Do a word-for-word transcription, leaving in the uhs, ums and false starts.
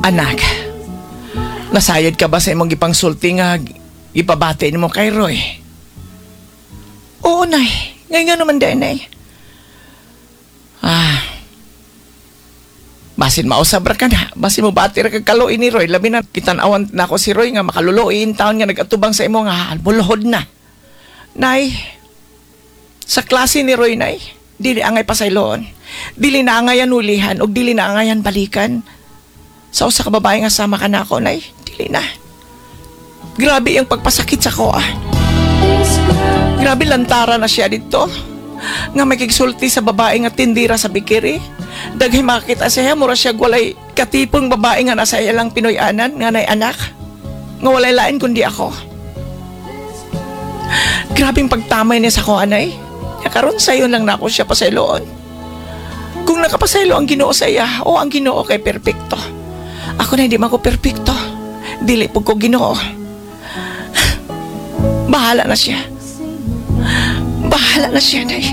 Anak, nasayod ka ba sa imong gipangsulti nga ipabati nimo kay Roy? Oo, Nay. Ngayon nga naman din, Nay. Ah, basin mausab ra ka na. Basin mo bati ra kag kaluoy ni Roy. Labi na kitan-awan na ako si Roy nga makaluluoy in taon nga nagatubang sa imo nga mulhod na. Nay, sa klase ni Roy, Nay, dili angay pasayloon. Dili na angayan ulihan ug dili na angayan balikan. Sa usa ka babae nga sama ka na ako, Nay, dili na. Grabe ang pagpasakit sa ko, ah. Grabe lantara na siya dito. Nga may kigsulti sa babae nga tindira sa bakery. Daghay makakita siya, mura siya walay katipong babae nga nasa ilang Pinoy-anan, nga nay anak. Nga walay lain kundi ako. Grabing pagtamay niya sa ko, anay. Nga karon sayo lang na ako siya pasayloon. Kung nakapasaylo ang Ginoo sa iya, o ang Ginoo kay perpekto. Ako na hindi man ko perpekto. Dili po ko Ginoo. Bahala na siya. Bahala na siya, Nay.